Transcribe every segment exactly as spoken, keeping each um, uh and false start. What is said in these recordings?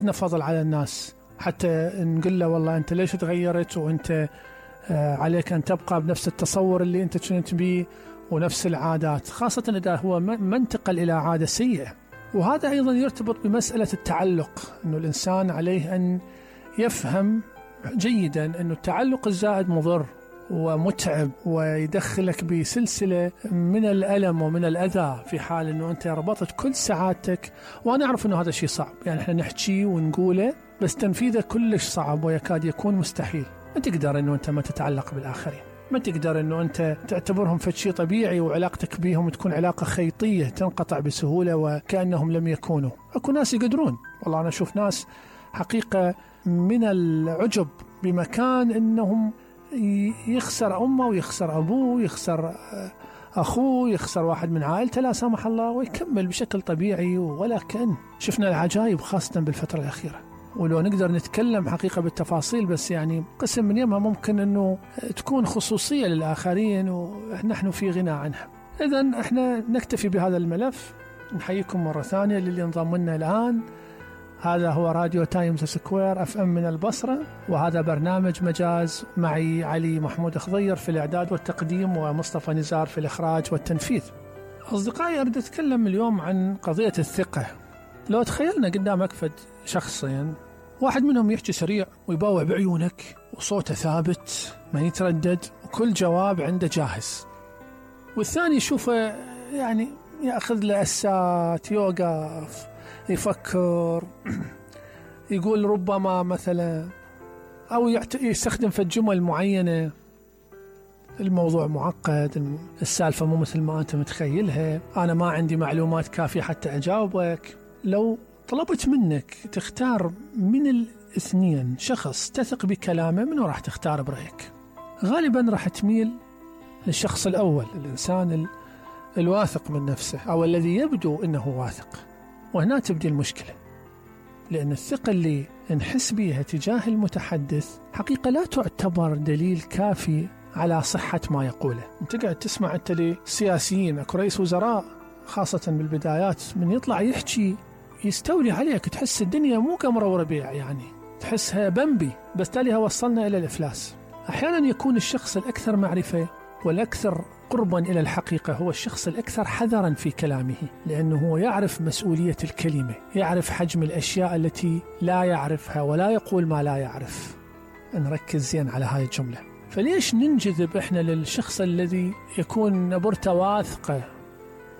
عندنا فضل على الناس، حتى نقول له والله أنت ليش تغيرت وأنت عليك أن تبقى بنفس التصور اللي أنت كنت بيه ونفس العادات، خاصة إذا هو ما انتقل إلى عادة سيئة. وهذا أيضا يرتبط بمسألة التعلق، أنه الإنسان عليه أن يفهم جيدا أنه التعلق الزائد مضر ومتعب ويدخلك بسلسلة من الألم ومن الأذى في حال أنه أنت ربطت كل سعادتك. وأنا أعرف أنه هذا شيء صعب، يعني إحنا نحكي ونقوله بس تنفيذه كلش صعب ويكاد يكون مستحيل. ما تقدر أنه أنت ما تتعلق بالآخرين، ما تقدر أنه أنت تعتبرهم فشي طبيعي وعلاقتك بيهم تكون علاقة خيطية تنقطع بسهولة وكأنهم لم يكونوا. أكو ناس يقدرون، والله أنا أشوف ناس حقيقة من العجب بمكان أنهم يخسر أمه ويخسر أبوه ويخسر أخوه، يخسر واحد من عائلته لا سمح الله، ويكمل بشكل طبيعي ولا كأن. شفنا العجائب خاصة بالفترة الأخيرة، ولو نقدر نتكلم حقيقة بالتفاصيل، بس يعني قسم من يمها ممكن أنه تكون خصوصية للآخرين ونحن في غنى عنها. إذن احنا نكتفي بهذا الملف. نحييكم مرة ثانية للي انضم لنا الآن. هذا هو راديو تايمز سكوير اف ام من البصرة، وهذا برنامج مجاز معي علي محمود خضير في الإعداد والتقديم، ومصطفى نزار في الإخراج والتنفيذ. أصدقائي، أريد أتكلم اليوم عن قضية الثقة. لو تخيلنا قدامك فد شخصين، واحد منهم يحكي سريع ويباوع بعيونك وصوته ثابت ما يتردد وكل جواب عنده جاهز، والثاني يشوفه يعني يأخذ له أسات، يوقف يفكر، يقول ربما مثلا، أو يستخدم في الجمل معينة. الموضوع معقد، السالفة مو مثل ما أنت متخيلها، أنا ما عندي معلومات كافية حتى أجاوبك. لو طلبت منك تختار من الاثنين شخص تثق بكلامه، منو راح تختار برأيك؟ غالبا راح تميل للشخص الأول، الإنسان الواثق من نفسه أو الذي يبدو أنه واثق. وهنا تبدي المشكلة، لأن الثقة اللي نحس بها تجاه المتحدث حقيقة لا تعتبر دليل كافي على صحة ما يقوله. انت قاعد تسمع انت لسياسيين، اكو رئيس وزراء خاصة بالبدايات من يطلع يحكي يستولي عليك، تحس الدنيا مو قمر وربيع، يعني تحسها بمبي، بس تاليها وصلنا إلى الإفلاس. أحيانا يكون الشخص الأكثر معرفة والأكثر قربا إلى الحقيقة هو الشخص الأكثر حذرا في كلامه، لأنه هو يعرف مسؤولية الكلمة، يعرف حجم الأشياء التي لا يعرفها ولا يقول ما لا يعرف. نركز زين على هاي الجملة. فليش ننجذب إحنا للشخص الذي يكون نبرته واثقة؟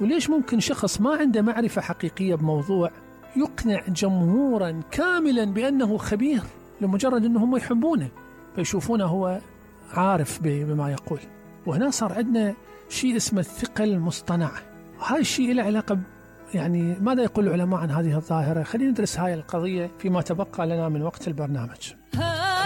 وليش ممكن شخص ما عنده معرفة حقيقية بموضوع يقنع جمهورا كاملا بأنه خبير لمجرد أنهم يحبونه فيشوفونه هو عارف بما يقول؟ وهنا صار عندنا شيء اسمه الثقة المصطنعة. هاي الشيء له علاقة يعني ماذا يقول العلماء عن هذه الظاهرة؟ خلينا ندرس هاي القضية فيما تبقى لنا من وقت البرنامج.